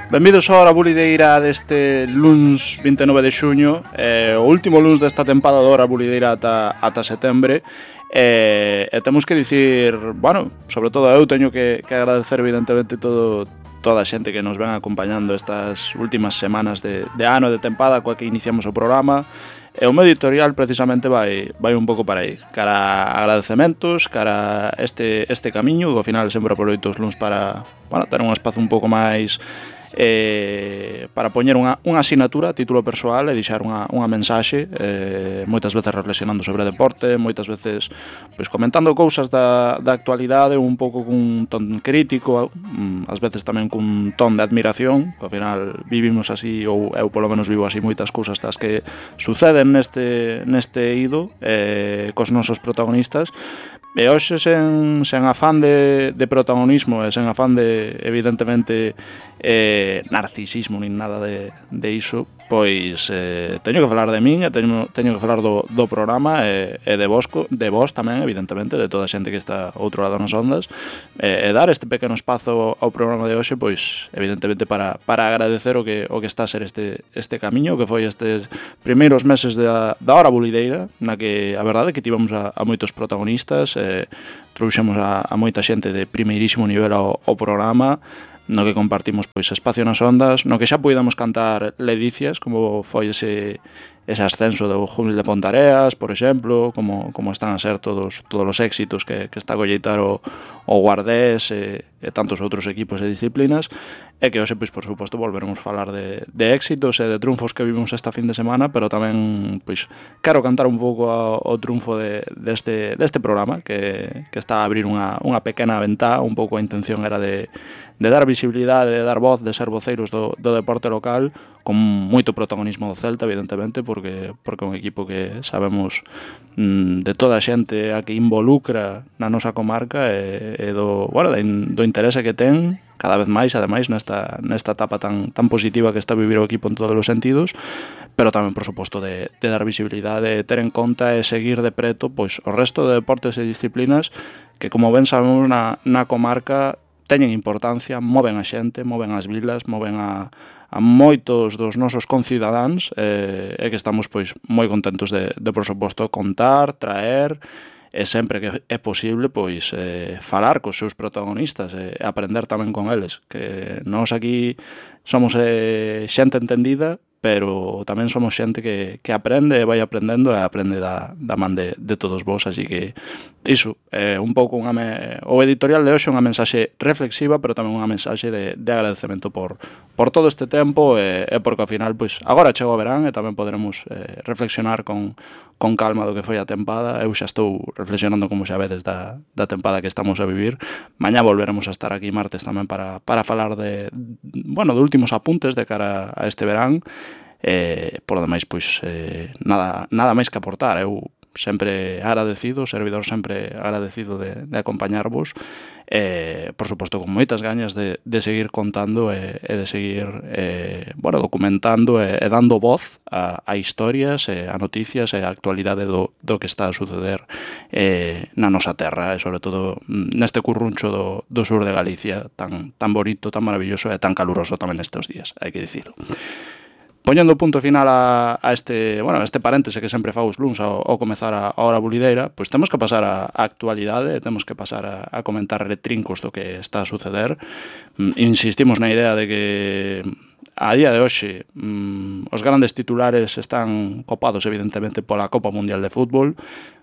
Benvidos á hora bulideira deste luns 29 de xuño, o último luns desta tempada da hora bulideira ata setembre. E temos que dicir, bueno, sobre todo eu teño que agradecer evidentemente toda a xente que nos ven acompañando estas últimas semanas de ano de tempada coa que iniciamos o programa. E o meu editorial precisamente vai un pouco para aí, cara a agradecementos, cara a este camiño, que ao final sempre aproveito os luns para ter un espazo un pouco máis para poñer unha asinatura a título persoal e deixar unha mensaxe, moitas veces reflexionando sobre deporte, moitas veces pois comentando cousas da actualidade un pouco cun ton crítico, ás veces tamén cun ton de admiración, que ao final vivimos así, ou eu polo menos vivo así moitas cousas das que suceden neste eido cos nosos protagonistas. E hoxe sen afán de protagonismo e sen afán de, evidentemente, narcisismo nin nada de iso, pois teño que falar de min e teño que falar do programa e de vos tamén, evidentemente, de toda a xente que está ao outro lado nas ondas, e dar este pequeno espazo ao programa de hoxe, pois, evidentemente, para agradecer o que está a ser este camiño, que foi estes primeiros meses da hora bulideira, na que a verdade é que tivemos a moitos protagonistas, trouxemos a moita xente de primeirísimo nivel ao programa, no que compartimos pois espacio nas ondas, no que xa puidamos cantar ledicias, como foi ese ascenso do Júnil de Pontareas, por exemplo, como están a ser todos os éxitos que está a colleitar o Guardés e tantos outros equipos e disciplinas, e que hoxe, pois, por suposto, volveremos falar de éxitos e de triunfos que vimos esta fin de semana, pero tamén, pois, quero cantar un pouco o triunfo deste programa, que está a abrir unha pequena ventá, un pouco a intención era de dar visibilidade, de dar voz, de ser voceiros do deporte local, con moito protagonismo do Celta, evidentemente, porque é un equipo que sabemos de toda a xente a que involucra na nosa comarca e do interese que ten cada vez máis, ademais, nesta etapa tan positiva que está a vivir o equipo en todos os sentidos, pero tamén, por suposto, de dar visibilidade, de ter en conta e seguir de preto pois o resto de deportes e disciplinas que, como ben sabemos, na comarca teñen importancia, moven a xente, moven as vilas, moven a moitos dos nosos concidadáns, e que estamos pois moi contentos de por suposto, contar, traer, e sempre que é posible pois falar cos seus protagonistas e aprender tamén con eles, que nós aquí somos xente entendida, pero tamén somos xente que aprende e vai aprendendo e aprende da man de todos vos, así que iso, un pouco o editorial de hoxe é unha mensaxe reflexiva, pero tamén unha mensaxe de agradecemento por todo este tempo e porque ao final, pois, agora chego o verán e tamén poderemos reflexionar con calma do que foi a tempada. Eu xa estou reflexionando, como xa vedes, da tempada que estamos a vivir. Mañá volveremos a estar aquí martes tamén para falar de últimos apuntes de cara a este verán. Por lo demais, pois, nada máis que aportar. Eu sempre agradecido, o servidor sempre agradecido de acompañarvos, por suposto con moitas gañas de seguir contando e de seguir documentando e dando voz a historias, a noticias e a actualidade do que está a suceder na nosa terra e sobre todo neste curruncho do sur de Galicia tan bonito, tan maravilloso e tan caluroso tamén estes días, hai que dicirlo. Poñendo punto final a este paréntese que sempre fago os luns ao comezar a hora bulideira, pois temos que pasar a actualidade, temos que pasar a comentar retrincos do que está a suceder. Insistimos na idea de que a día de hoxe os grandes titulares están copados evidentemente pola Copa Mundial de Fútbol.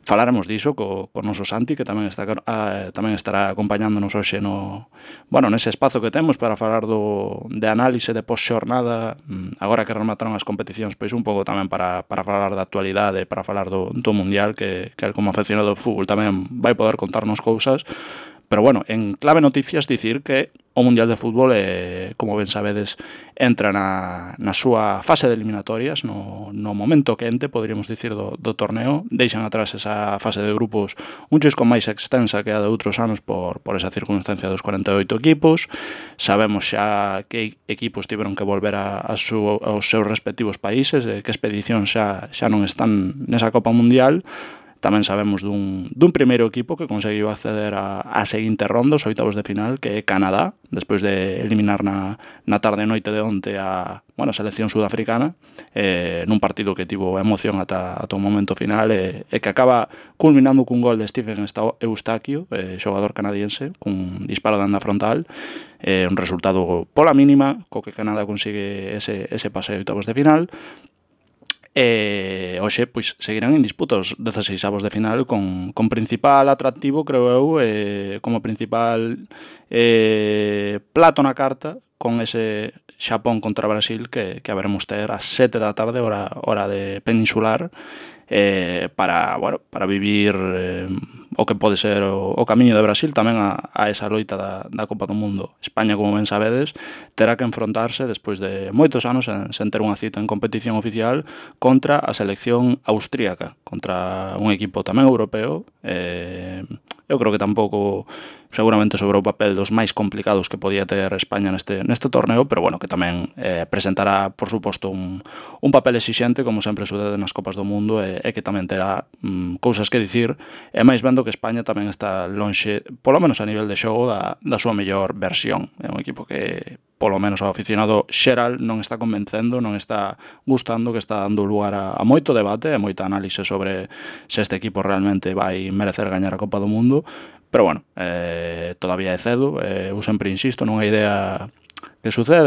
Falaremos diso co noso Santi, que tamén estará acompañándonos hoxe nese espazo que temos para falar de análise de post-xornada, agora que remataron as competicións, pois un pouco tamén para falar da actualidade, para falar do Mundial, que como aficionado do fútbol tamén vai poder contarnos cousas. Pero bueno, en clave noticias dicir que o Mundial de Fútbol, como ben sabedes, entra na súa fase de eliminatorias, no momento quente, poderíamos dicir, do torneo. Deixan atrás esa fase de grupos un chisco máis extensa que a de outros anos por esa circunstancia dos 48 equipos. Sabemos xa que equipos tiveron que volver aos seus respectivos países, que expedicións xa non están nesa Copa Mundial. Tamén sabemos dun primeiro equipo que conseguiu acceder a seguinte ronda, os oitavos de final, que é Canadá, despois de eliminar na tarde e noite de onte a selección sudafricana, nun partido que tivo emoción ata o momento final, e que acaba culminando cun gol de Stephen Eustáquio, xogador canadiense, cun disparo de anda frontal, un resultado pola mínima, co que Canadá consigue ese pase a oitavos de final. E hoxe pois seguirán en disputa os 16avos de final con principal atractivo, creo eu, como principal plato na carta, con ese Xapón contra Brasil que haberemos ter ás 7 da tarde, hora de peninsular, para vivir o que pode ser o camiño de Brasil tamén a esa loita da Copa do Mundo. España, como ben sabedes, terá que enfrontarse despois de moitos anos sen ter unha cita en competición oficial contra a selección austríaca, contra un equipo tamén europeo. Eu creo que tampouco seguramente sobre o papel dos máis complicados que podía ter España neste torneo, pero bueno, que tamén presentará, por suposto, un papel exixente, como sempre sucede nas Copas do Mundo, e que tamén terá cousas que dicir, e máis vendo que España tamén está lonxe, polo menos a nivel de xogo, da súa mellor versión. É un equipo que, polo menos ao aficionado xeral, non está convencendo, non está gustando, que está dando lugar a moito debate e moita análise sobre se este equipo realmente vai merecer gañar a Copa do Mundo. Pero bueno, todavía é cedo, eu sempre insisto nunha idea que sucede